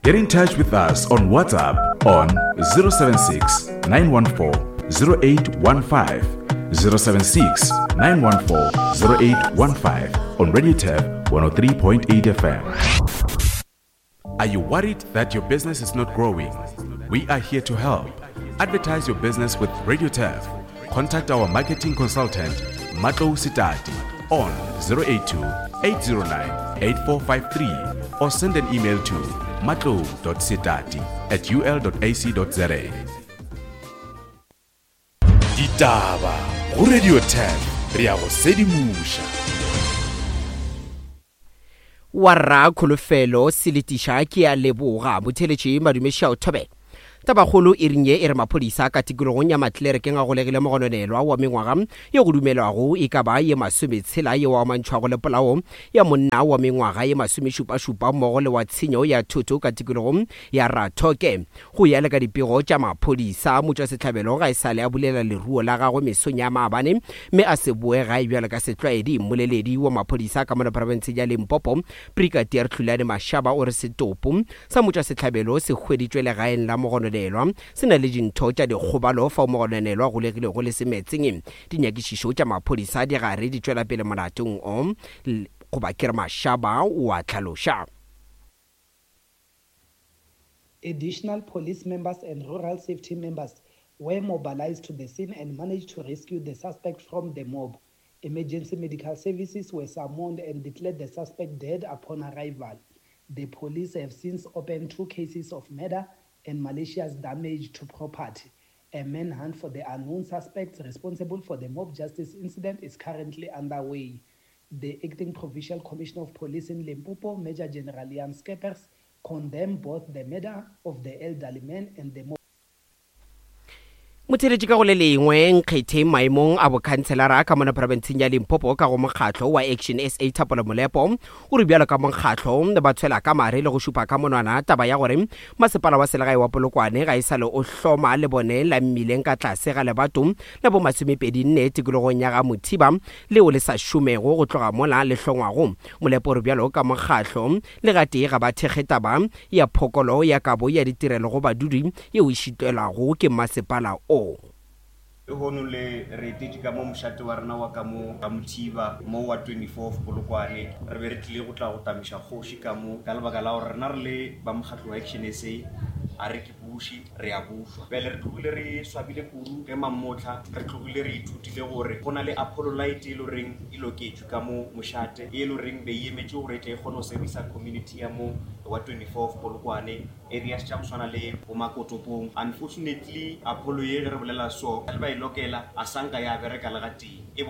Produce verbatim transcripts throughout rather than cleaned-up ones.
Get in touch with us on WhatsApp on zero seven six, nine one four, zero eight one five, zero seven six, nine one four, zero eight one five on Radio Turf one oh three point eight F M. Are you worried that your business is not growing? We are here to help. Advertise your business with Radio Turf. Contact our marketing consultant, Matlou Sitati, on zero eight two, eight zero nine, eight four five three or send an email to matlou dot sitati at u l dot a c dot z a. Ditaba go Radio Turf, re ya go sedimoša. Warra Kholofelo Seletiša ke a leboga botheletše madumeša o thobela. Tabakgolo e ring ye e re maphodisa ka tikologong ya Matlerekeng a golegile mogononelwa wa mengwaga ye go dumelwago e ka ba ye masometshela ye wa amantšhwago le polao ya monna wa mengwaga ye masomešupašupa mmogo le wa tshenyo ya thoto ka tikologong ya Rathoke. Go ya le ka dipego tša maphodisa, motšwasehlabelo ga e sale a bulela leruo la gagwe mesong ya maabane mme a se boe gae bjalo ka setlwaedi. Mmoleledi wa maphodisa ka mona profenseng ya Limpopo, Brigadier Tlulane Mashaba, o re setopo sa motšwasehlabelo se hweditšwe legaeng la mogononelwa se na le dintho tša dikgobalo fao mogononelwa golegilego le semetseng. Dinyakišišo tša maphodisa di gare di tšwela pele molatong o, goba ke re Mashaba o a hlaloša. Additional police members and rural safety members were mobilized to the scene and managed to rescue the suspect from the mob. Emergency medical services were summoned and declared the suspect dead upon arrival. The police have since opened two cases of murder and malicious damage to property. A manhunt for the unknown suspects responsible for the mob justice incident is currently underway. The acting provincial commissioner of police in Limpopo, Major General Jan Skeepers, condemned both the murder of the elderly man and the mob. Motheletši ka go le lengwe nkgethe maemong a bokhanselara ka mona profenseng ya Limpopo ka go mokgatlo wa Action S A Thapelo Molepo o re bjalo ka mokgatlo ba tshwela ka mare le go šupa ka monwana taba ya gore masepala wa selegae wa Polokwane ga e sa le o hloma le bone la mmileng ka tlase ga lebato la bo masomepedi nne tikologong ya ga Mothiba leo le sa šomego go tloga mola le hlongwago. Molepo o re bjalo ka mokgatlo le gatee ga ba thekge taba ya phokolo ya kabo ya ditirelo go badudi yeo e šitelwago ke masepala o. Lehono le re etetše ka mo mošate wa rena wa ka mo ga Mothiba mo wa twenty-four Polokwane. Re be re tlile go tla go tamiša kgoši ka mo ka lebaka la gore rena re le ba mokgatlo wa Action S A a re ke buše, re a bušwa. Bjale re tlogile re swabile kudu ge mamotlha re tlogile re ithutile gore go na le Apollo light e le goreng e loketšwe ka mo mošate, e le goreng be e emetše gore e tle e kgone go servisa community ya mo wa twenty-four Polokwane, areas tša go swana le bo Makotopong. Unfortunately, Apollo ye ge re bolela so, le ba e lokela, a sanka ya bereka le gatee. E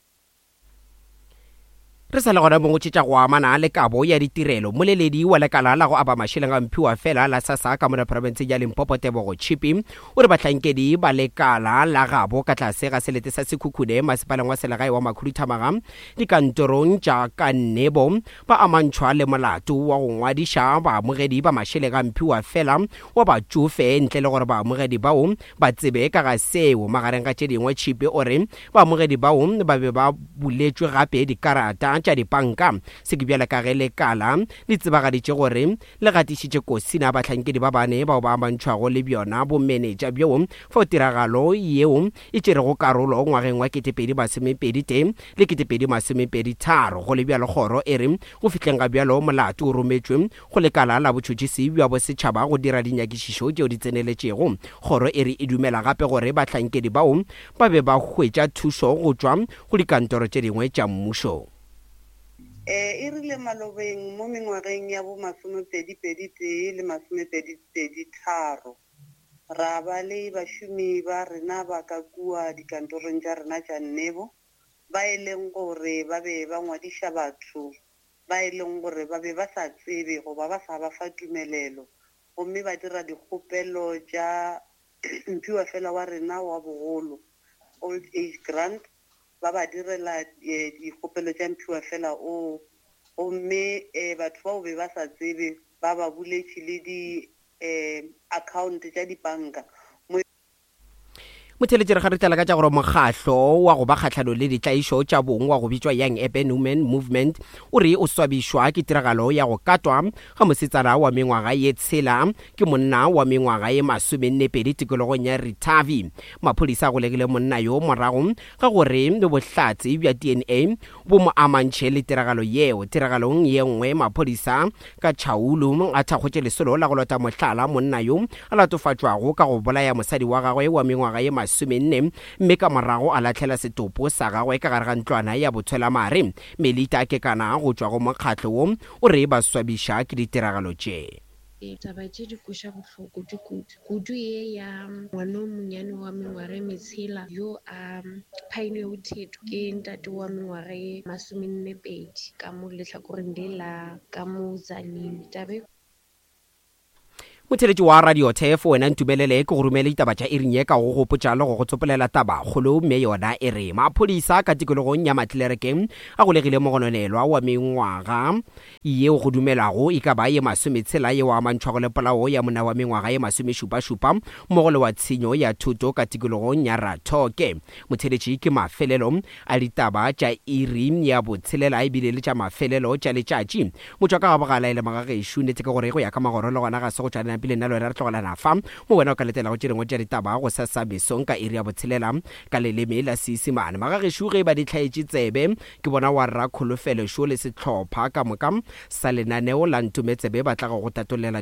Re sa le gona mo go tšetša go amana le kabo ya ditirelo. Moleledi wa lekala la go aba mašeleng a mphiwa fela la SASSA ka mona profenseng ya Limpopo, Tebogo Chipi, o re bahlankedi ba lekala la gabo ka tlase ga selete sa Sekhukhune masepaleng wa selegae wa Makhuduthamaga dikantorong tša ka Nnebo ba amantšhwa le molato wa go ngwadiša baamogedi ba mašeleng a mphiwa fela wa batšofe ntle le gore baamogedi bao ba tsebe ka ga seo. Magareng ga tše dingwe, Chipi o re baamogedi bao ba be ba buletšwe gape dikarata tša dipanka. Se ke bjale ka ge lekala le tsebagaditše gore le gatišitše kosina bahlankedi ba bane bao ba amantšhwago le bjona bomenetša bjoo fao tiragalo yeo e tšerego karolo ngwageng wa ketepedi masomepedi tee le ketepedi masomepedi tharo. Go le bjalo, kgoro e re go fihleng ga bjalo molato o rometšwe go lekala la botšhotšhisi bja bosetšhaba go dira dinyakišišo tšeo di tseneletšego. Kgoro e re e dumela gape gore bahlankedi bao ba be ba hwetša thušo go tšwa go dikantoro tše dingwe tša mmušo. Eh, e rile malobeng mo mengwageng ya bo masomepedi pedi tee le masomepedi pedi tharo, ra ba le bašomi ba rena ba ka kua dikantorong tša rena tša Nnebo, ba e leng gore ba be ba ngwadiša batho ba e leng gore ba be ba sa tsebe goba ba sa ba fa tumelelo, gomme ba dira dikgopelo tša mphiwa fela wa rena wa bogolo, old age grant, ba ba direla, eh, dikgopelo tša mphiwa fela o, gomme, eh, batho bao be ba sa tsebe ba ba buletše le di, eh, account tša dibanka. Motheletši, re kgaritela ka tša gore mokgahlo wa go ba kgahlano le ditlaišo tša bong wa go bitšwa Young Urban Women Movement o re o swabišwa ke tiragalo ya go katwa ga mosetsana wa mengwaga ye tshela ke monna wa mengwaga ye masomenne pedi tikologong ya Ritavi. Maphodisa a golegile monna yo morago ga gore bohlatse bja D N A bo mo amantšhe le tiragalo yeo. Tiragalong ye nngwe, maphodisa ka Chaulu a thakgotše lesolo la go lota mohlala monna yo a latofatšwago ka go bolaya mosadi wa gagwe wa mengwaga ye masomenne mme ka morago a lahlela setopo sa gagwe ka gare ga ntlwana ya botshwelamare. Melita Kekana go tšwa go mokgatlo wo o re ba swabiša ke ditiragalo tše. Taba tše di kweša bohloko di kudu kudu ye ya ngwana o monnyane wa mengwaga e metshela yo a phaene o thetho ke ntate wa mengwaga e masomenne pedi ka mo lehlakoreng le la ka mo Tzaneen. Taba Motheletši wa Radio Turf, wena ntumelele ke go romele ditaba tša iring ye ka go gopotša le go go tsopolela taba kgolo, mme yona e re maphodisa ka tikologong ya Matlerekeng a golegile mogononelwa wa mengwaga yeo go dumelago e ka ba ye masometshela yeo amantšhwago le polao ya monna wa mengwaga ye masomešupašupa mmogo le wa tshenyo ya thuto ka tikologong ya Rathoke. Motheletši, ke mafelelo a ditaba tša iri ya botshelela ebile le tša mafelelo tša letšatši. Motšwa ka ga bogala e le magagešo, nnete ke gore go ya ka magoro le gona ga se go tšwa pele nna le wena re tlogelana fa mo wena o ka letelago tše dingwe tša ditaba go sasa mesong ka iri ya botshelela ka leleme la Seisemane. Magagešo ge ba di hlaetše tsebe ke bona wa rra Kholofelo šo le sehlopha ka moka sa lenaneo la Ntometsebe ba tla go go tatollela